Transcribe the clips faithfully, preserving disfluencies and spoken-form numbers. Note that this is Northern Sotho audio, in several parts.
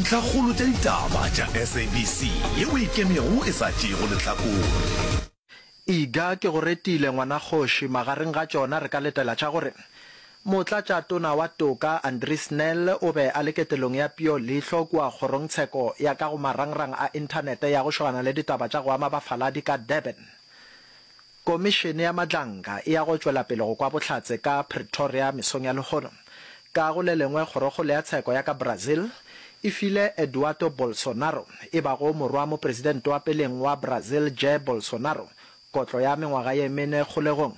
Dintlhakgolo tša ditaba tša S A B C yeo e ikemego e sa tšeego lehlakore. Iga ke go retile ngwanakgoši. Magareng ga tšona re ka letela tša gore Motlatšatona wa Toka Andries Nel o be a le ketelong ya peo leihlo kua kgorongtsheko ya ka go marangrang a inthanete ya go šogana le ditaba tša go ama bafaladi ka Durban. Komišene ya Madlanga e ya go tšwela pele go kwa bohlatse ka Pretoria mesong ya lehono. Ka go le lengwe, Kgorokgolo ya Tsheko ya ka Brazil e file Eduardo Bolsonaro, e bago morwa mopresidente wa peleng wa Brazil Jair Bolsonaro, kotlo ya mengwaga ye mene kgolegong.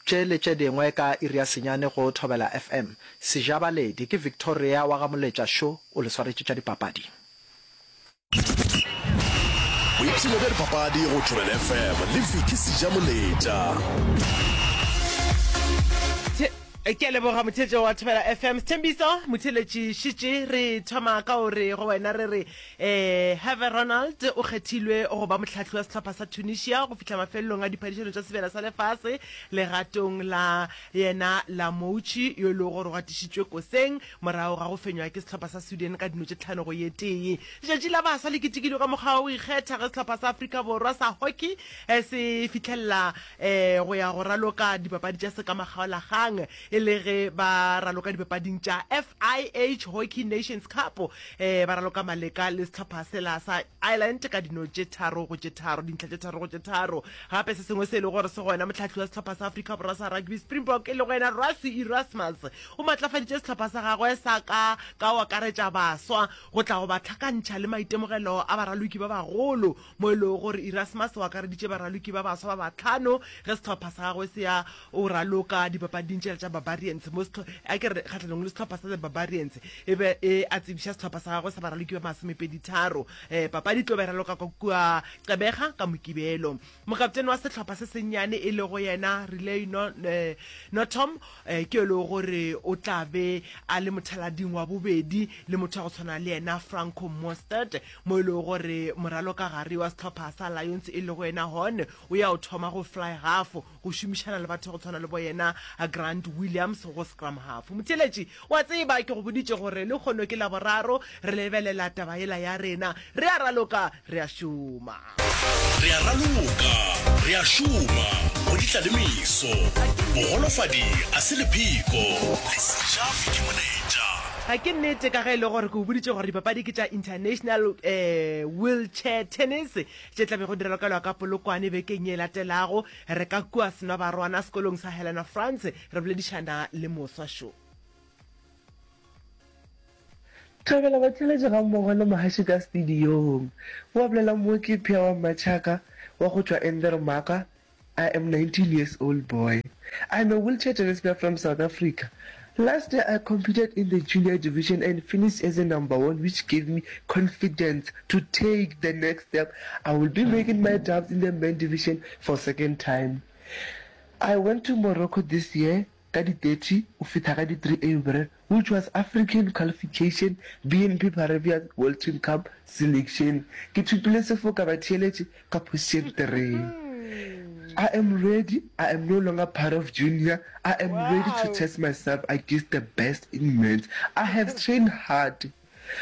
Tše le tše dingwe ka iri ya senyane go Thobela F M. Sejabaledi ke Victoria wa ga Moletša Šo o le swaretše tša dipapadi. Boipshino bja dipapadi go Thobela F M le Vicky Sejamoletša. Ke a leboga motheetšo wa Thobela F M. Sethembiso motheeletši šitše re thoma ka o re go wena re re um Herve Renard o kgethilwe go ba mohlahli wa sehlopha sa Tunisia go fihla mafelelong a diphadišano tša sebjana sa lefase legatong la yena Lamouchi yo e lego gore o gatišitšwe koseng morago ga go fenywa ke sehlopha sa Sweden ka dino tše tlhano go ye tee. Letšatši la baswa le ketekilwe ka mokgwa wa go ikgetha ge sehlopha sa Afrika Borwa sa hockey se fihlelela go ya go raloka dipapadi tša sekamakgaolakgang e le ge ba raloka dipapading tša F I H Hockey Nations Cup, ba raloka maleka le sehlopha sela sa Ireland ka dino tše tharo go tše tharo, dintlha tše tharo go tše tharo. Gape se sengwe se e lego gore se gona, mohlahli wa sehlopha sa Afrika Borwa sa rugby Springbok e lego yena Rassie Erasmus o matlafaditše sehlopha sa gagwe sa ka ka go akaretša baswa go tla go ba hlakantšha le maitemogelo a baraloki ba bagolo, mo e lego gore Erasmus o akareditše baraloki ba baswa ba bahlano ge sehlopha sa gagwe se ya o raloka dipapading tšela tša Barbarians mo a ke re kgahlanong le sehlopha sa the Barbarians e be e a tsebiša sehlopha sa gagwe sa baraloki ba masomepedi tharo. um papadi tlo be raloka ka kua Gqeberha ka Mokibelo. Mokaptene wa sehlopha se sennyane e lego yena Relay no, eh, Notom eh, ke e lego gore o tla be a le mothalading wa bobedi le motho wa go tshwana le yena Franco Mostert, mo e lego gore moraloka gare wa sehlopha sa Lions e lego yena Horn o ya o thoma go fly half go šomišana le batho go tshwana le bo yena Grant Williams go scrum half. Motheeletši wa tseba ke go boditše gore le kgono ke Laboraro re lebelela taba yela ya rena re a raloka re a šoma. Re a raloka re a šoma go ditla le meso. Bogolofadi a se lepheko le seja Vicky Moletša. Ga ke nnete ka ge e le gore ke o boditše gore dipapadi ke tša International um Wheelchair Tennis tše tla bego di ralokelwa ka Polokwane bekeng ye latelago. Re ka kua Senwabarwana sekolong sa Helena France re boledišana le moswa šo. Thobela batheeletši gammogo le mohaši ka studiong. Wa bolela mo ke Phia wa Mmatšhaka wa go tšwa Endermaka. I am nineteen years old boy. I am a wheelchair tennis player from South Africa. Last year I competed in the junior division and finished as a number one, which gave me confidence to take the next step. I will be making my dubs in the men division for second time. I went to Morocco this year ka di thirty o fihla ka di three April, which was African qualification B N P Paribas World Team Cup selection. Ke thopile sefoka batheeletši ka position three. I am ready. I am no longer part of junior. I am ready to Wow. test myself against the best in men's. I have trained hard.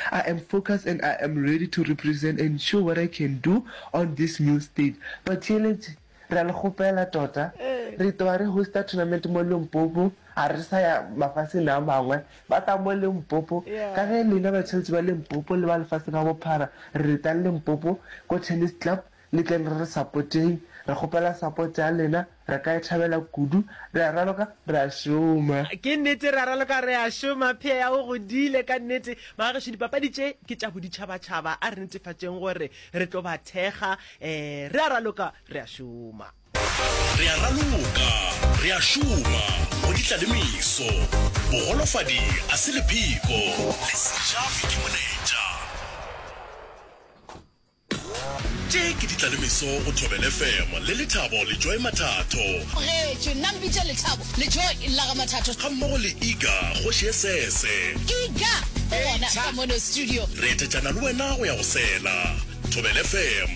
I am focused and I am ready to represent and show what I can do on this new stage. Batheeletši, re a le kgopela tota. Re tloga re hosta tournament mo Limpopo, ga re sa ya mafaseng a mangwe. Ba tla mo Limpopo. Ka ge lena batheeletši ba Limpopo le ba lefase ka bophara, re retang Limpopo ko tennis club, le tleng re re supporteng. Re kgopela support ya lena, re ka e thabela kudu. Re a raloka, re a šoma. Ke nnete re a raloka re a šoma. Phia ya o godile ka nnete. Magagešo, dipapadi tše ke tša boditšhabatšhaba, a re netefatšeng gore re tlo ba thekga. um re a raloka re a šoma. Re a raloka re a šoma go ditla le meso. Bogolofadi a se lepheko le seja Vicky Moletša. Tše ke ditla le meso go Thobela F M le Lethabo le Joy Mathatho. Getšwe nna mpitše Lethabo le Joy la ga Mathatho. Ga mmogo le Iga kgoši e sese. Iga o gona ka mono studio. Re etetšana le wena go ya go sela. Thobela F M.